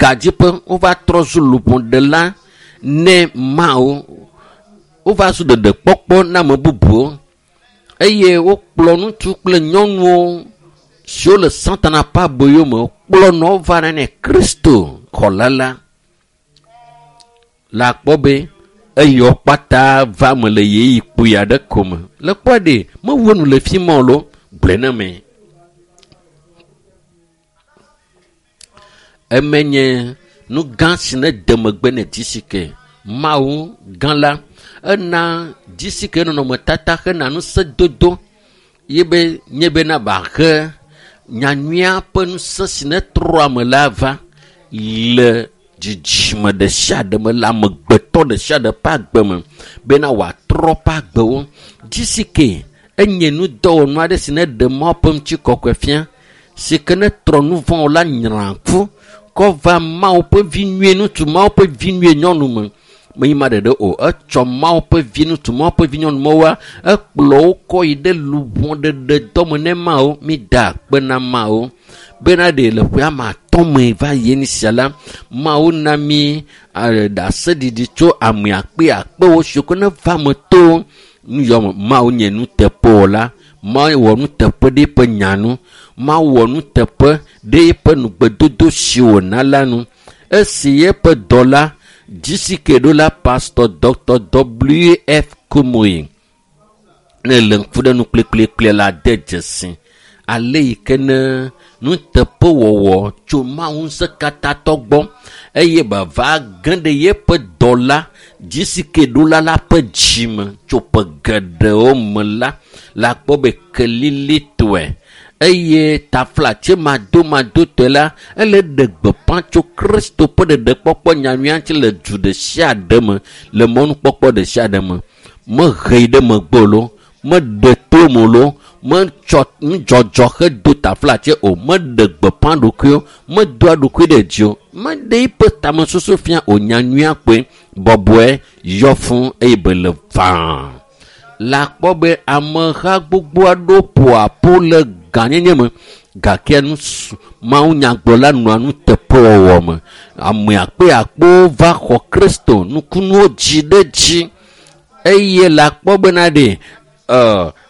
Gadziƒe wova trɔ zu luʋɔɖela ne Mawu. Wova zu ɖeɖekpɔkpɔ na ame bubuwo eye wokplɔ ŋutsu kple nyɔnuwo siwo le Satana ƒe aboyo me kplɔ nɔ va ne Kristo xɔla la. Le akpɔ be eyɔ kpata va me le ɣeyiɣi kpui aɖe ko me. Le kpɔe ɖe mewu enu le fi ma o lo gblɔe na me. Eme nye nu gã si ne de megbe ne dzisike. Mawu gã la ena dzisike nɔnɔmetata hena ŋusẽdodo ye be nye bena wòahe nyanyuia ƒe ŋusẽ si ne trɔ ame la va le dzidzime ɖe sia ɖe me le amegbetɔ ɖe sia ɖe ƒe agbe me bena wòatrɔ ƒe agbewo. Dzisike enye nudɔwɔnu aɖe si ne ɖe Mawu ƒe ŋutikɔkɔe fia si ke ne trɔ nu vɔ̃wo la nyra ƒu kɔ va Mawu ƒe vi nyuie ŋutsu, Mawu ƒe vi nyuie nyɔnu me. Menye ma ɖeɖe o, etsɔ Mawu ƒe vi ŋutsu, Mawu ƒe vi nyɔnu mewoa, ekplɔ wo kɔ yi ɖe luʋɔɖeɖe dɔme ne Mawu. Mi da akpe na Mawu bena ɖe le ƒe ame atɔ̃ me va yi nu sia la, Mawu na mi ɖaseɖiɖi tso ame akpe akpewo siwo ke ne va me to nu yɔ me. Mawu nye nuteƒewɔla. Mawu wɔ nuteƒe ɖe eƒe nya nu. Mawu wɔ nuteƒe ɖe eƒe nugbedodo si wòna la nu. Esi eƒe dɔla dzisike ɖo la, Pastor Dr. W F Kumuyi ne le ŋku ɖe nu kplikplikpli la de dzesi ale yi ke ne nuteƒewɔwɔ tso Mawu ŋusẽkatãtɔ gbɔ eye bava ge ɖe yeƒe dɔla dzisike ɖola la ƒe dzime tso ƒe geɖewo me la, la kpɔ be kelilitɔe eye taflatse madomadotɔe la ele ɖe gbeƒã tso Kristo ƒe ɖeɖekpɔkpɔ nyanyuia ŋuti le du ɖe sia ɖe me le mɔnukpɔkpɔ ɖe sia ɖe me. Mehee ɖe megbe o lo, meɖe to me o lo, metsɔ nudzɔdzɔ hedo taflatse o, meɖe gbeƒã ɖokuiwo, medoa ɖokui ɖe dzi o, meɖe eƒe tamesusu fia o. Nyanyuia kpoe bɔbɔe yɔ fũ eye be le vaa. La kpɔ be ameha gbogbo aɖewo ƒoa ƒo le gãnyenye me gake nu mawunyagblɔla nɔa nuteƒewɔwɔ me. Ame akpe akpewo va xɔ Kristo nukunuwo dzi ɖe dzi eye la kpɔ bena ɖe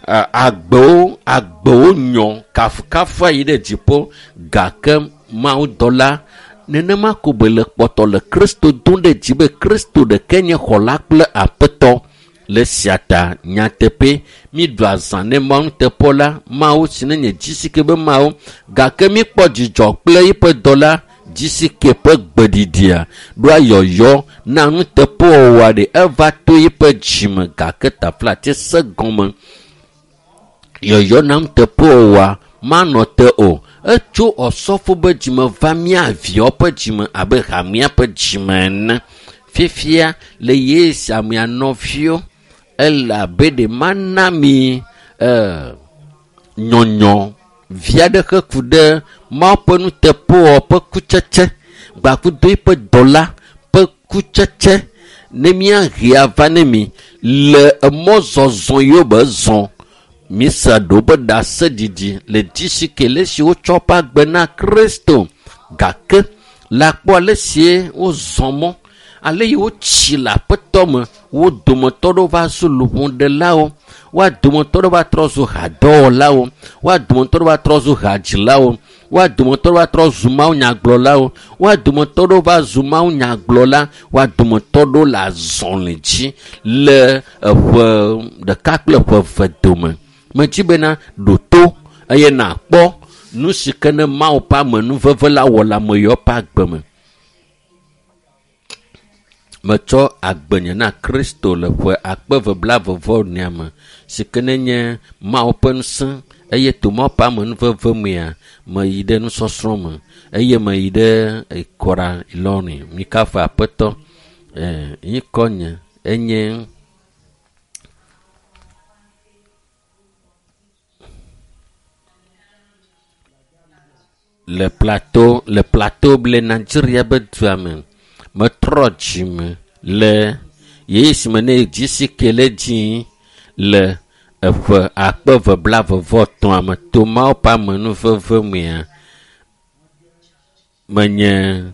agbewo agbewo nyɔ kafukafua yi ɖe dziƒo gake mawudɔla nenema ko be le kpɔtɔ le Kristo dom ɖe dzi be Kristo ɖeke nye xɔla kple aƒetɔ. Le sia ta nyateƒe mi ɖu azã ne Mawu nuteƒe la, Mawu si ne nye dzisike be Mawu gake mi kpɔ dzidzɔ kple eƒe dɔla dzisike ƒe gbeɖiɖia ɖoa yɔyɔ na nuteƒewɔwɔ ɖe eva to eƒe dzime gake taflatse se gɔme yɔyɔ na nuteƒewɔwɔa manɔ te o. Etso ɔsɔfo be dzime va mía viawo ƒe dzime abe hamea ƒe dzime ene. Fifia le Yesu amea nɔviwo ele abe ɖe mana mi nyɔnyɔ vi aɖe he ku ɖe Mawu ƒe nuteƒewɔwɔ ƒe kutsetse gbakudo eƒe dɔla ƒe kutsetse ne míahe ava ne mi le emɔzɔzɔ yiwo be zɔ. Misa ɖo be ɖaseɖiɖi le dzisike le si wotsɔ ƒe agbe na Kristo gake le akpɔ ale sie wozɔ mɔ ale yi wotsi le aƒetɔ me wo dometɔ ɖewo va zu luʋɔɖelawo, woa dometɔ ɖewo va trɔ zu hadɔwɔlawo, woa dometɔ ɖewo va trɔ zu hadzilawo, woa dometɔ ɖewo va trɔ zu mawunyagblɔlawo, woa dometɔ ɖewo va zu mawunyagblɔla, woa dometɔ ɖewo le azɔli dzi le eƒe ɖeka kple ƒe eve dome. Medzi bena ɖo to eye nàkpɔ nu si ke ne Mawu ƒe amenuveve la wɔ le ame yawo ƒe agbe me. Metsɔ agbenye na Kristo le ƒe akpe eve blaeve vɔ enea me si ke ne nye Mawu ƒe ŋusẽ eye to Mawu ƒe amenuveve mea meyi ɖe nusɔsrɔ̃ me eye meyi ɖe Ikora Ilɔri. Mikafu Aƒetɔ. Ŋkɔnye enye le plateau le plateau le Nigeria be dua me. Metrɔ dzime le ɣeyiɣi si me ne dzisike le dzi le eƒe akpe eve blaeve vɔ etɔ̃a me to Mawu ƒe amenuveve mea menye